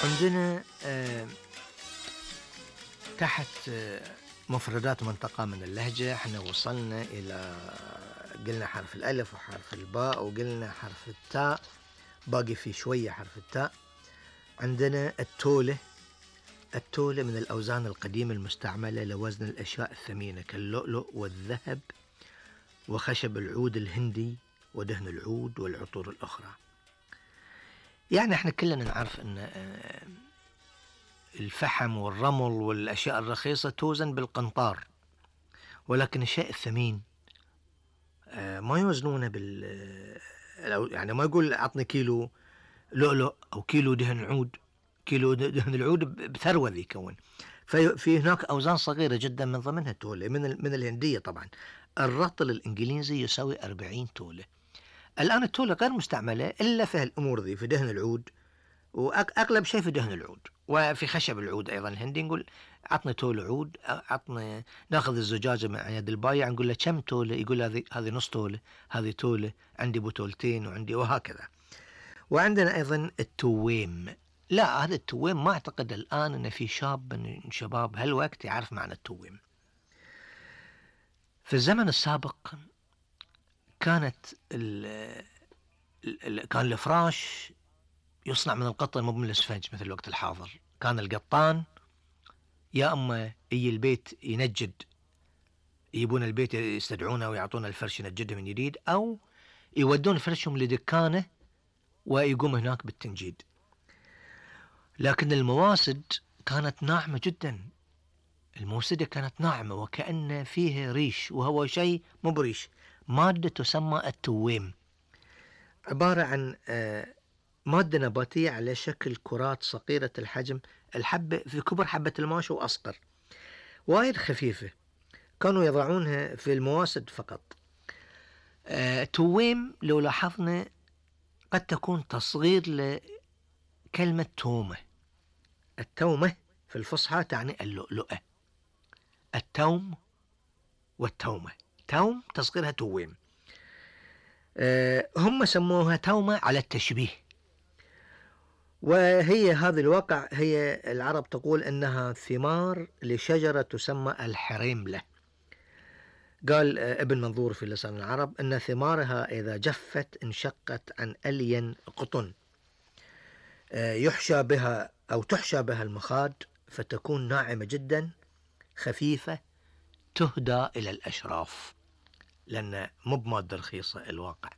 عندنا تحت مفردات منطقة من اللهجة احنا وصلنا إلى قلنا حرف الألف وحرف الباء وقلنا حرف التاء، باقي في شوية حرف التاء. عندنا التولة. التولة من الأوزان القديمة المستعملة لوزن الأشياء الثمينة كاللؤلؤ والذهب وخشب العود الهندي ودهن العود والعطور الأخرى. يعني احنا كلنا نعرف ان الفحم والرمل والأشياء الرخيصة توزن بالقنطار، ولكن الشيء الثمين ما يوزنونه يعني ما يقول أعطني كيلو لؤلؤ أو كيلو دهن عود. كيلو دهن العود بثروة ذي يكون. في هناك أوزان صغيرة جدا من ضمنها تولة من الهندية. طبعا الرطل الإنجليزي يساوي 40 تولة. الآن التولة غير مستعملة إلا في هالأمور ذي، في دهن العود، وأغلب شيء في دهن العود وفي خشب العود أيضا. الهندي نقول عطني تولة عود، عطني. ناخذ الزجاجة من يد البايع نقول له كم تولة، يقول هذه نص تولة، هذه تولة، عندي بتولتين وعندي، وهكذا. وعندنا أيضا التويم. لا، هذا التويم ما أعتقد الآن أن في شاب من شباب هالوقت يعرف معنى التويم. في الزمن السابق كان الفراش يصنع من القطن مو من الاسفنج مثل الوقت الحاضر. كان القطان يا أما البيت ينجد، يجيبون البيت يستدعونه ويعطون الفرش ينجده من جديد، أو يودون فرشهم لدكانه ويقوم هناك بالتنجيد. لكن المواسد كانت ناعمة جدا. الموسدة كانت ناعمة وكأن فيها ريش، وهو شيء مو بريش، مادة تسمى التويم، عبارة عن مادة نباتية على شكل كرات صغيرة الحجم، الحبة في كبر حبة الماش وأصغر، وايد خفيفة. كانوا يضعونها في المواسد فقط. تويم لو لاحظنا قد تكون تصغير لكلمة تومة. التومة في الفصحى تعني اللؤلؤة. التوم والتومة، توم تصغيرها تويم. هم سموها تومة على التشبيه. وهي هذا الواقع، هي العرب تقول أنها ثمار لشجرة تسمى الحريملة. قال ابن منظور في لسان العرب أن ثمارها إذا جفت انشقت عن ألين قطن، يحشى بها أو تحشى بها المخاد فتكون ناعمة جدا خفيفة، تهدى إلى الأشراف، لأن مو بمادة رخيصة الواقع.